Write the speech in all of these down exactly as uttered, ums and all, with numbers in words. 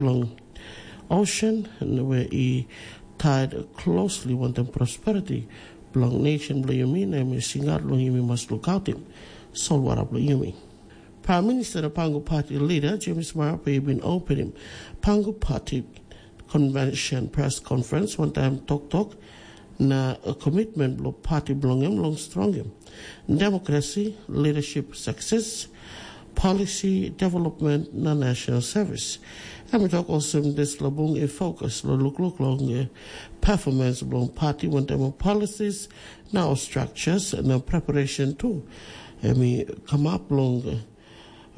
long ocean, na we i tied closely wantaim prosperity bilong nation bilong yumi, na em i singaut long yumi mas lukautim solwara bilong yumi. Prime Minister na Pangu Party leader James Marape i bin openim Pangu Party Convention press conference wantaim toktok na commitment bilong party bilong em long strongim democracy, leadership success, policy development na national service. Em i tok olsem dispela bung i fokus long lukluk long eh, performance bilong party wantaim ol policies na ol structures na preparation tu. Em i kamap long eh,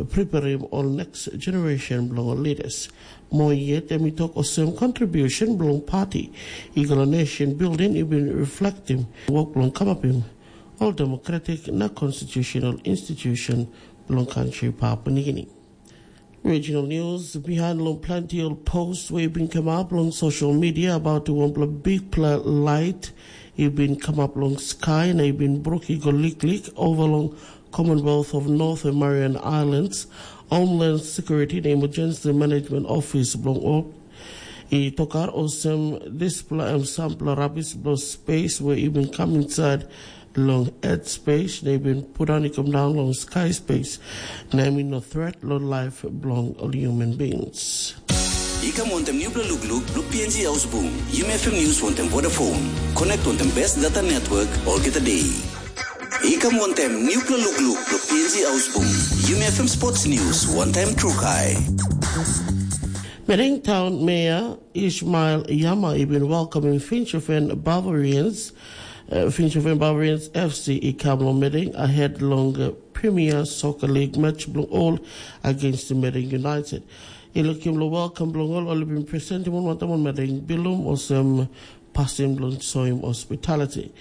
preparim ol next generation bilong ol leaders. Mo yet em i tok olsem contribution bilong party i go long nation building i bin reflektim wok bilong kamapim ol democratic na constitutional institution bilong country Papua New Guinea. Regional news, behind long plenty ol post wey bin kamap long social media about wanpela bigpela light i bin kamap long sky na i bin bruk i go liklik over long Commonwealth of North and Marian Islands, Homeland Security na Emergency Management Office bilong ol i tokar olsem dispela em sampela rabis bilong space wey i bin kam inside long earth space na i bin pundaun i kam daun long sky space, na em i no threat long life bilong ol human beings. I kam wantaim nupela lukluk long P N G Haus Bung, Yumi F M News wantaim Vodafone. Connect wantaim best data network olgeta day. I kam wantaim nupela lukluk long P N G Haus Bung, Yumi F M Sports News wantaim Trukai. Madang Town Mayor Ishmael Yama i bin welcoming Finchofen Barbarians, uh, Finchofen Barbarians F C i kam long Madang ahead long uh, Premier Soccer League match bilong ol against Madang United. I lukim lo welcome bilong ol, ol i bin presentim ol wantaim ol Madang bilum olsem pasin bilong soim hospitality.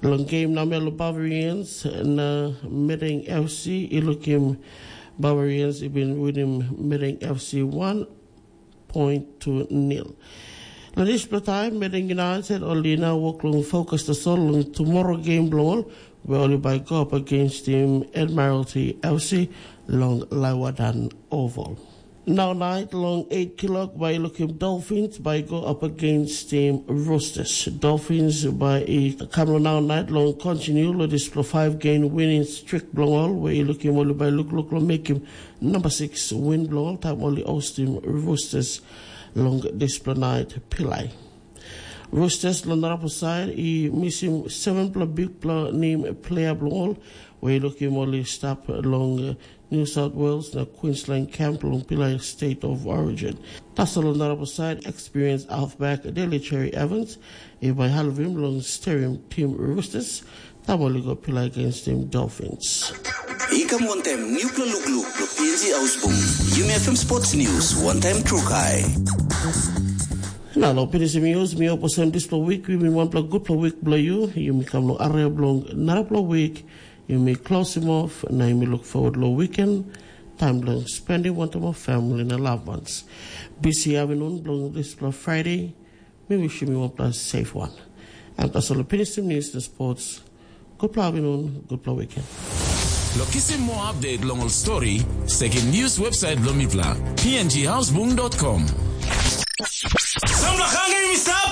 Long game namel Barbarians na Madang F C i lukim Barbarians i bin winim Madang F C one point two nil. Na dispela taim Madang United ol i nau wok long fokus tasol long tumora game bilong ol, we ol i bai go up against tim Admiralty F C long Laiwadan Oval. Nau nait long eight kilok bai i lukim Dolphins bai i go up against tim Roosters. Dolphins bai i kam long nau nait long continue long dispela five game winning streak bilong ol, we i lukim ol i bai lukluk long mekim number six win bilong ol taim ol i hostim Roosters long dispela nait pilai. Roosters long narapela side i misim sevenpela bikpela nem player bilong ol, we i lukim ol i stap long uh, New South Wales na Queensland camp long pilai State of Origin. Tasol long narapela side, experienced halfback Daly Cherry Evans i bai halivim long sterim tim Roosters, taim ol i go pilai against tim Dolphins. I kam wantaim nupela lukluk long P N G Haus Bung, Yumi F M Sports News wantaim Trukai. Na long pinisim news, mi hope olsem dispela wik i bin wanpela gutpela wik bilong yu. Yumi kam long area bilong narapela wik, yumi klosim off na yumi luk forward long weekend, taim bilong spendim wantaim ol famili na loved ones. Bisi avinun bilong dispela Friday, mi wishim yu wanpela safe one. Em tasol pinisim news na sports. Gutpela avinun, gutpela weekend. Lo kisim moa update long ol stori, sekim news website bilong mipela, p n g houseboom dot com. Samla hangim i stap.